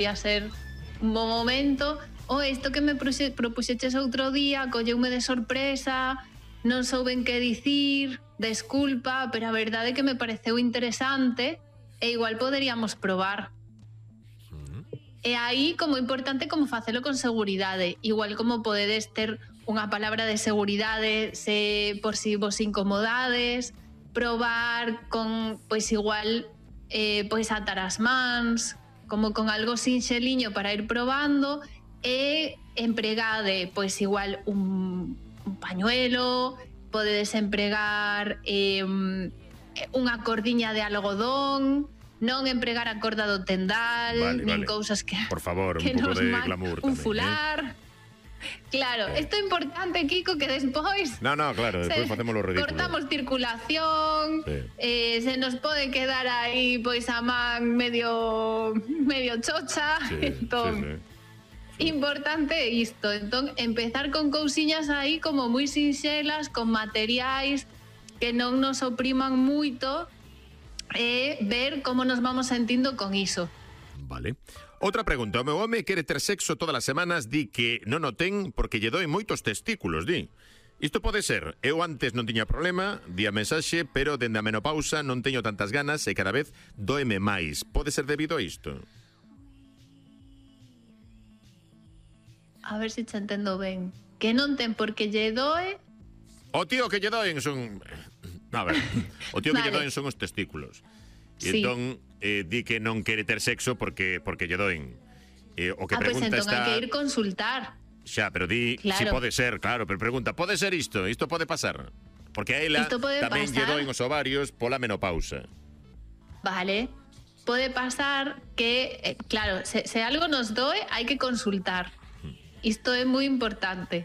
podría ser un bom momento. Isto que me propuxeches outro día colleume de sorpresa, non souben que dicir, desculpa, pero a verdade é que me pareceu interesante e igual poderíamos probar. E aí, como importante, como facelo con seguridade. Igual como podedes ter unha palabra de seguridade se por si vos incomodades, probar con, pois igual, pois atar as mans, como con algo sinxeliño para ir probando, e empregade, pois igual un pañuelo, podedes empregar unha cordiña de algodón, non empregar a corda do tendal, nin cousas que, por favor, que un pouco de nos glamour un tamén, fular. Claro, isto é importante, Kiko, que despois No, claro, despois facemos lo ridículo. Cortamos circulación, se nos pode quedar aí pois a man medio chocha, entón importante isto, entón empezar con cousiñas aí como moi sinxelas, con materiais que non nos opriman moito e ver como nos vamos sentindo con iso. Vale. Outra pregunta, o meu home quere ter sexo todas as semanas, di que non o ten porque lle doen moitos testículos, di. Isto pode ser, eu antes non tiña problema, di a mensaxe, pero dende a menopausa non teño tantas ganas e cada vez doeme máis. Pode ser debido a isto? A ver se te entendo ben. Que non ten porque lle doe... O tío que lle doen son... A ver, o tío que lle doen son os testículos. E entón di que non quere ter sexo porque lle doen. O que pregunta entón está... hai que ir consultar. Xa, pero di si pode ser, claro, pero pregunta, pode ser isto? Isto pode pasar? Porque a ela tamén lle doen os ovarios pola menopausa. Vale. Pode pasar que, claro, se algo nos doe, hai que consultar. Isto é moi importante.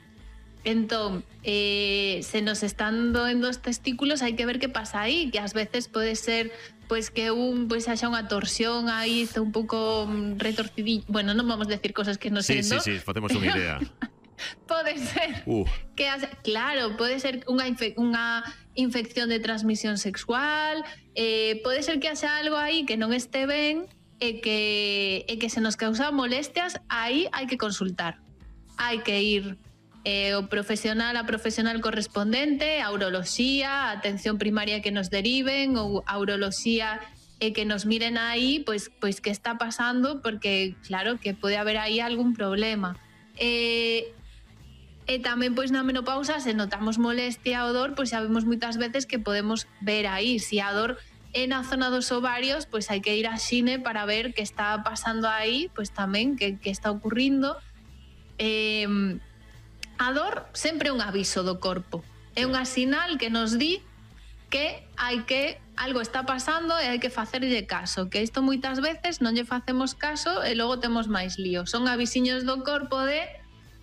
Entón, se nos están doendo os testículos, hai que ver que pasa aí, que ás veces pode ser pois que haxa unha torsión aí, está un pouco retorcidillo. Bueno, non vamos decir cosas que non sendo. Sí, facemos unha idea. Pode ser que claro, pode ser unha infección de transmisión sexual, pode ser que haxa algo aí que non este ben e que se nos causa molestias, aí hai que consultar. Hai que ir o profesional a profesional correspondente, a uroloxía, a atención primaria que nos deriven, ou a uroloxía e que nos miren aí pois que está pasando, porque claro que pode haber aí algún problema. E tamén pois na menopausa, se notamos molestia ou dor, pois sabemos moitas veces que podemos ver aí, se a dor é na zona dos ovarios, pois hai que ir a xine para ver que está pasando aí, pois tamén que está ocurrindo. A dor sempre é un aviso do corpo, é unha sinal que nos di que algo está pasando e hai que facerlle caso, que isto moitas veces non lle facemos caso e logo temos máis lío. Son avisiños do corpo de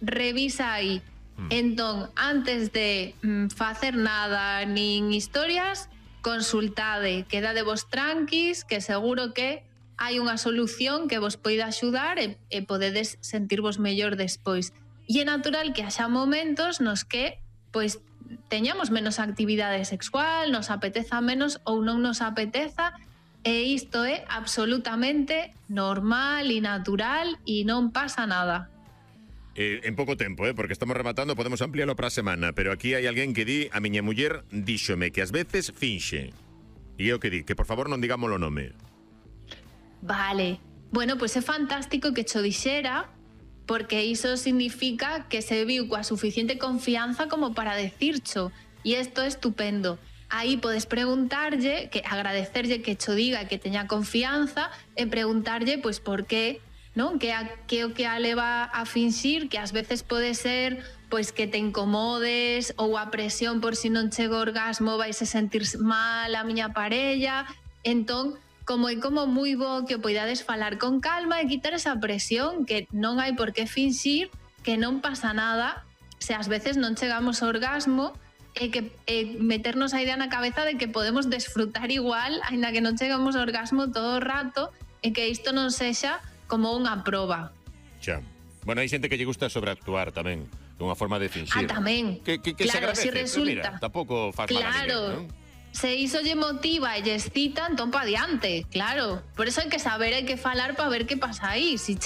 revisa aí. Entón, antes de facer nada nin historias, consultade, quedade vos tranquis, que seguro que hai unha solución que vos poida axudar e podedes sentirvos mellor despois. E é natural que haxa momentos nos que pois teñamos menos actividade sexual, nos apeteza menos ou non nos apeteza, e isto é absolutamente normal e natural e non pasa nada. En pouco tempo, porque estamos rematando, podemos ampliarlo para a semana, pero aquí hai alguén que di, a miña muller díxome que ás veces finxe. E eu que di, que por favor non digamos o nome. Vale. Bueno, pois é fantástico que cho dixera, porque iso significa que se viu coa suficiente confianza como para decircho, e isto é estupendo. Aí podes preguntarlle, que agradecerlle que cho diga que teña confianza, e preguntarlle pois por qué, non? Que o que a leva a finxir, que ás veces pode ser pois que te incomodes, ou a presión por si non chego ao orgasmo vais a sentir mal a miña parella. Entón, como é como moi bo que o poidades falar con calma e quitar esa presión, que non hai por que finxir, que non pasa nada se ás veces non chegamos ao orgasmo, e que meternos a idea na cabeza de que podemos desfrutar igual, aínda que non chegamos ao orgasmo todo o rato, e que isto non sexa como unha proba. Xa. Bueno, hai xente que lle gusta sobreactuar tamén, unha forma de finxir. Tamén. Que claro, se agradece, si resulta. Mira, tampouco faz mal a ninguén, ¿no? Se iso lle motiva e lle excita, entón pa diante, claro. Por eso hai que saber, hai que falar para ver que pasa aí. Si che